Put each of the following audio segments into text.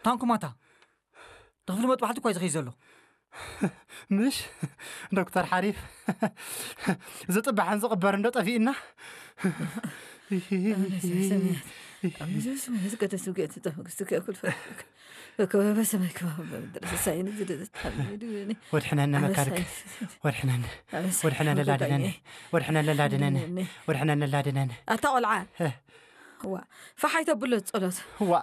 ታንኩማታ፣ ተኽፍሊ መጥባሕቲ እኳ እዩ ዝኸይ ዘሎ። ምሽ ዶክተር ሓሪፍ፣ ዝጥባሕን ዝቕበር እንዶ ጠፊእና። ኣነ ስምያት ኣነ ስምያት ቀደስ ውግእት ተመግስቱ ከእኩል ፈ በከበበ ሰማይ ከማበ ምድር ሰሳይን ዝደዘት ሓሚዱ እኔ ወድሕነኒ መካርክ፣ ወድሕነኒ፣ ወድሕነኒ ላድነኒ፣ ወድሕነኒ ላድነኒ፣ ወድሕነኒ ላድነኒ። ኣታ ቆልዓ ዋ፣ ፋሓይ ተብሎ ጸሎት። ዋ፣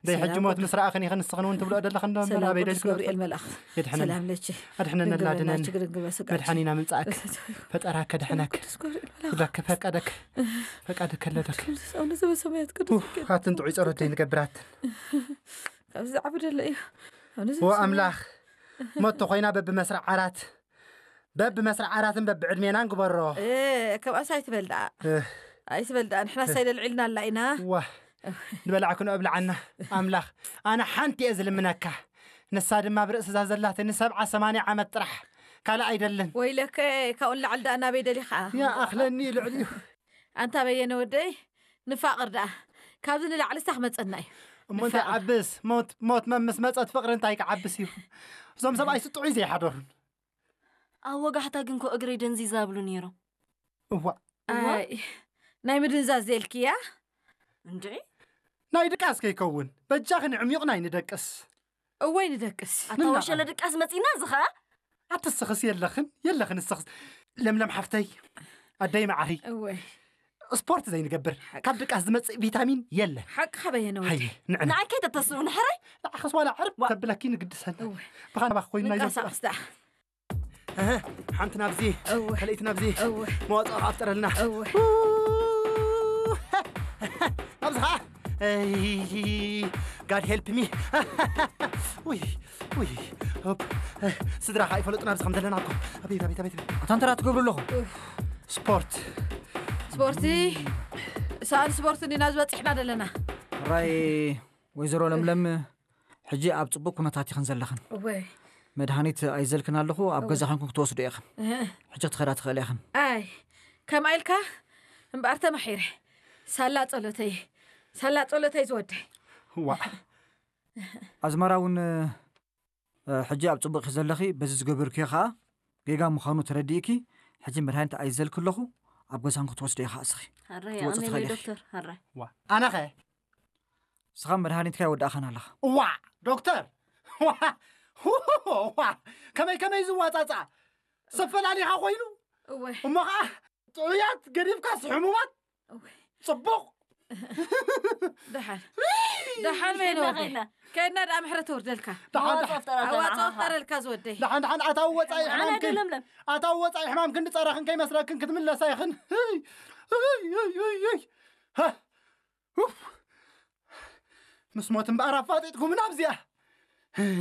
ደይ ሕጂ ሞት ምስ ረኣኽን ኢኽን ንስኽን እውን ትብልኦ ዘለኽን ዶ እምበር፣ ኣበይ ደልክ ገብርኤል መልኣኽ የድሕነና። ሰላም ለኪ። ኣድሕነና ድንግል ላድነን ናችሁ ግርግበ ስጋች መድሓኒና ምምጻእክ ፈጠራከ ድሕነክ ቅዱስ ገብርኤል መልኣኽ ዛክ ፈቀደክ ፈቃድከ ለደክ ኣነ ዘበሰማያት ቅዱስ ኣትን ጥዑይ ጸሎት ደይ ንገብራት ካብዚ ዝዓቢ ደለ እዩ። ኣነ ዎ ኣምላኽ ሞት ኮይና በብመስርዕ ዓራት በብመስርዕ ዓራትን በብዕድሜናን ግበሮ። ከምኣስ ኣይትበል ደኣ ኣይትበል ደኣ ንሕና ሳይደልዒልና ኣላ ኢና። ዋ ንበላዕክኖ እብልዓና ኣምላኽ። ኣነ ሓንቲ እየ ዝልምነካ፣ ንሳ ድማ ብርእስዛ ዘላትኒ ሰብዓ ሰማንያ ዓመት ጥራሕ ካልእ ኣይደልን። ወይለከ ካብኡ ንላዕሊ ደኣ ናበይ ደሊኻ? ይኣኽለኒ እዩ ልዕሊኡ። ኣንታ በየነ ወደይ ንፋቕር ደኣ ካብዚ ንላዕሊ ስታ ክመፀና እዩ። እሞ እንታይ ዓብስ ሞት ሞት መምስ መፀት ፍቕሪ እንታይ ክዓብስ እዩ? እዞም ሰብኣይ ስጥዑይ ዘይሓደሩን። ኣብ ወጋሕታ ግን ኮ እግረይ ደንዚዛ ብሉ ነይሮም። እዋ ኣይ ናይ ምድንዛዝ ዘልክያ እንድዒ ናይ ድቃስ ከይከውን በጃኽን ዕሚቑ ናይ ንደቅስ። እወይ ንደቅስ ኣታ ወሸለ ድቃስ መፂና እዚ ኸዓ ኣትስኽስ የለኽን የለኽን እስኽስ። ለምለም ሓፍተይ ኣደይ መዓሪ እወይ ስፖርት ዘይንገብር ካብ ድቃስ ዝመፅእ ቪታሚን የለ። ሓቂ ከበየነ ወዲ ሃየ ንዕና ንዓይ ከይተተስኡ ንሕራይ ንዓኸስ ዋላ ዕርብ ተብለኪ ንግድሰና እወይ ብኻን ባኽ ኮይኑ ናይ ዘምፅኣ ንቃሳቅስ ደኣ እህ፣ ሓንቲ ናብዚ እወ። ካልኣይቲ ናብዚ እወ። መዋፅኦ ከኣ ፍጠረልና እወ። ኣብዚ ኸዓ ጋድ ሄልፕ ሚ ውይ ውይ ሆፕ ስድራ ከዓ ይፈለጡና ኣብዚ ከም ዘለና እኮ ኣቤት ኣቤት ኣቤት ኣቤት ኣታ እንተ ትገብሩ ኣለኹም ስፖርት ስፖርቲ ሰኣን ስፖርቲ እንዲና ዝበፂሕና ዘለና ራይ ወይዘሮ ለምለም ሕጂ ኣብ ፅቡቅ ኩነታት ይኽን ዘለኽን እወይ መድሃኒት ኣይዘልክን ኣለኹ ኣብ ገዛ ኸንኩም ክትወስዱ ኢኽን ሕጂ ክትኸዳ ትኽእል ኢኽን ኣይ ከምኣ ኢልካ እምበኣር ተማሒረ ሳላ ጸሎተይ ሳላ ጸሎተይ ዝወደይ ዋ ኣዝመራ እውን እ፣ ሕጂ ኣብ ፅቡቅ ዘለኺ በዚ ዝገበርክዮ ከዓ ጌጋ ምዃኑ ተረዲእኪ ሕጂ መድሃኒት ኣይዘልክ ኣለኹ ኣብ ገዛን ክትወስዶ ኢኻ እስኺ ሃራይ ትወፅእ ኣሜን ትኽእል ኢኺ። ዶክተር ሃራይ ዋ ኣነኸ ስኻ መድሃኒትካ ይወዳእኻን ኣለኻ ዋ ዶክተር ዋ ዋ ከመይ ከመይ ዝዋፃፃ ሰፈላሊኻ ኮይኑ እወ እሞ ከዓ ጥዑያት ገዲፍካስ ሕሙማት እወ ፅቡቕ ደሓን ደሓን መይነ ወደይ ከይድና። ከድና ደኣ ምሕረት ተወርደልካ ደሓን መዋፅኦ ፍጠረልና ኣዋፅኦ ንዓኻ። ፍጠረልካ ዝወደይ ደሓን ደሓን ኣታ ወፃኢ ኣነ ሕማምክን ድለምለም ኣታ ወፃኢ ሕማምክን ንፀረኽን ከይመስለክን ክትምለሳ ኢኽን እይ፣ እይ፣ እይ፣ እይ። ሃ፣ ኡፍ። ምስ ሞት እምበኣር ኣፋጢጥኩምና ኣብዚኣ